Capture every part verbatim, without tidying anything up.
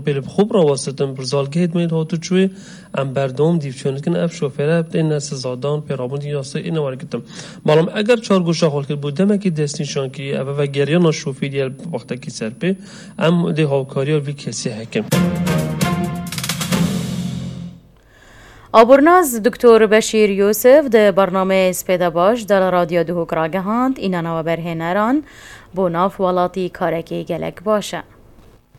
Li bi xwe bi rawestitin, bi rizalgehê dimên hatuçûyê em berdewam dîvçûn dikin, ev şofêre têne sizadan, pêrabûn yasayê êne wergirtin. Belav eger çar goşa xwe kir, bo demekî destnîşan kirî, ev vegeriyana şofêrî ye li wextekî ser pê, em dê hawkariya vî kesî hekin. Abornaz Doktor Beşîr Yûsif di bernameyê Spêde Baş de li Radyo Duhok ragihand, înana weberhêneran bo nav welatî karekî gelek baş e.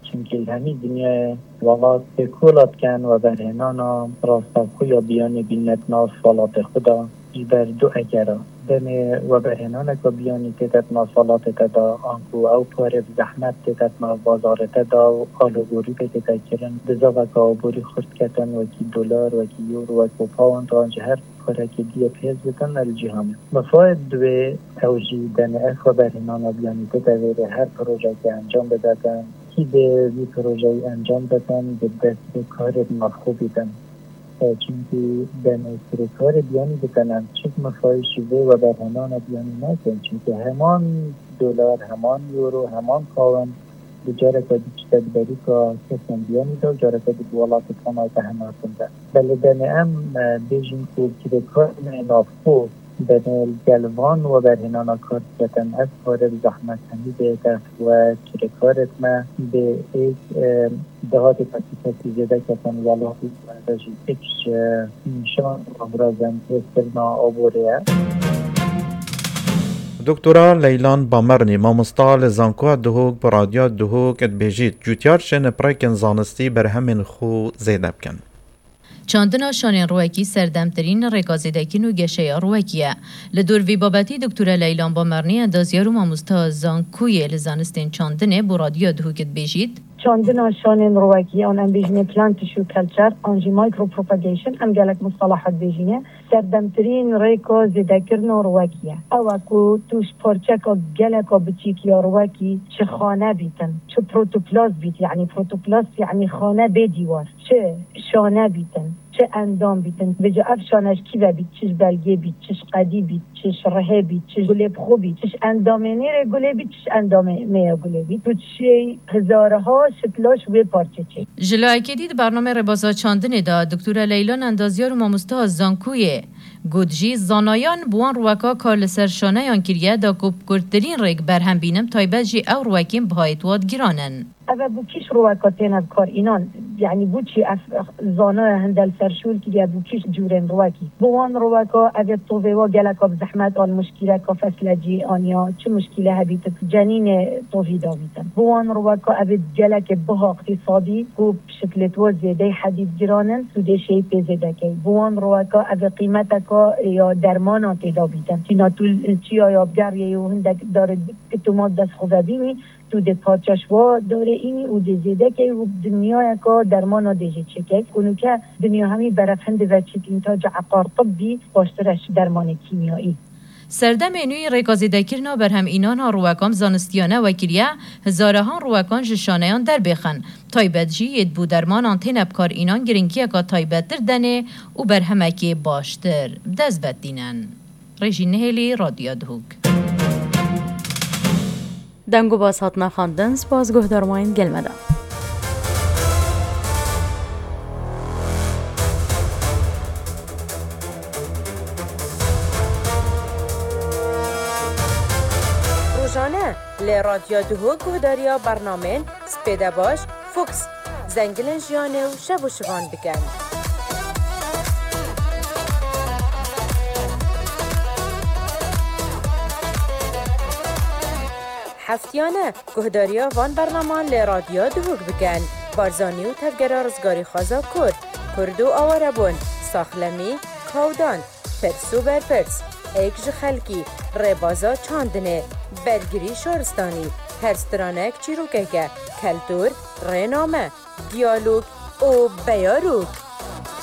Çimkî li hemî dinyayê welat têkola dikin weberhênana rastexwe ya biyanî bîne di nav welatê xwe de ji ber du egera. Demê weberhênaneke biyanî tête di nav welatê te de, anku ew pare bi zehmet tête di nav bazarê te de û alûgorî pê tête kirin, dizaveke aborî xurt ketin, wekî dolar, wekî euro, wekî pound, an ji her parekê dî yê pêz bitin li cîhanê. Mifayê di wê ew jî demê ev weberhênana biyanî tête vêrê her projeyekê encam bidetin. Kî dê vî projeyî encam bitin, bi dest bi karê bi navxwe bîtin. E, çimkî demê kirêkarê biyanî bitin, em çi mifayê ji vê weberhênana biyanî nakin. Çimkî heman dolar, heman euro, heman pound, bi careke dî çite di berîka kesên biyanî de û careke dî bi welatê Kanayê de hema tund e. Belê demê em, e, bêjin ku kirêkarên navxwe demê li gel van weberhênana kar diketin, ev kare bi zehmet hemî bêhtir we kirêkarê me bê êk, e, dahatê kesî kesî zêde ketin welatî me de jî êk ji nîşan û amrazên hêzkirina aborê ye. Doktora Leylan Bamernî, mamosta li Zankoya Duhok, bi Radyoya Duhok dibêjît, cûtyar şên pirêkên zanistî berhemên xwe zêde bikin. Çandina şanên rûwekî serdemtirîn rêka zêdekirin û geşeya rûwekî ye. Li dor vî babetî Doktora Leylan Bamernî, endazyar û mamosta zankoyê li zanistên çandinê bo Radyoya Duhok dibêjît. Çandina şanên rûwekî, an em bêjinê plant tissue culture, an jî micropropagation, em gelek mustalahat bêjinê. Serdemtirîn rêka zêdekirina rûwekî ye. Ew e ku tu ji parçeka geleka biçîk ya rûwekî çi xane bîtin, çi protoplast bît, yanî protoplast yanî xane bê dîwar, çi şane bîtin, çi endam bîtin. Vêca ev şane ji kî ve bît, çi ji belgê bît, çi ji qedî bît, çi ji rihê bît, çi ji gulê bi xwe bît, çi ji endamê nêrê gulê bît, çi ji endamê mêya gulê bît. Tu çi hezarha şitla ji wê parçe çêk. Ji layekê dî di bernameyê Rêbaza Çandinê de Doktora Leylan endazyar û mamosteha zankoyê got jî, zanayan bi wan rûweka kar li ser şaneyan kiriye da ku bi kurtirîn rêk berhem bînin, taybet jî ew rûwekên bihayê di wan giran in. Ev e bo kîş rûweka têne bi kar înan, yanî bo çi ev zanaya hinde li ser şûl kiriye, bo kîş cûrên rûwekî. Bo wan rûweka ev ê tovê wa geleka bi zehmet an muşkîleka feslecî an ya çi muşkîle hebîtin, cenînê tovî dabîtin. Bo wan rûweka ev ê gelekê biha îqtîsadî ku bi şiklê tu zêdeyî hedî digiranîn, tu dê şêyî pê zêde key. Bo wan rûweka ev ê qîmeteka ya dermanan tê dabîtin. Tîna tu çiya ya bigeriyê û hindek darê tu ma dest xwe vebînî, tu dê parçe ji wa darê înî û dê zêde key û dinyayeka dermana dê jê çêkey. Ku nûke dinya hemî berevhin dive çît întaca eqar tibbî baştir e ji dermanê kîmyayî. Serdemê nû rêka zêdekirina berhem înana rûwekan bi zanistiyane wekiriye, hezarahan rûwekan ji şaneyan derbêxin. Taybet jî yê bo dermanan têne bi kar înan giringiyeka taybettir denê û berhemekê baştir bi dest ve tînin. Rêjî Nihêlî, Radyoya Duhok. Deng û bas hatina xwendin, spas guhdarmayên gel me de. Rojane li Radyoya Duhok guhdariya bernamên Spêde Baş, Fox, Zengilên Jiyanê û Şev û Şivan bikin. Heftiyane guhdariya van bernaman li Radyoya Duhok bikin. Barzanî û Tevgera Rizgarîxwaza Kurd, Kurd û Awarebûn, Saxlemî, Kawdan, Pirs û berpirs, êk ji xelkî, rêbaza çandinê, bergirî şaristanî, her stranek çîrokek e, keltûr, rêname, diyalog û beyarok.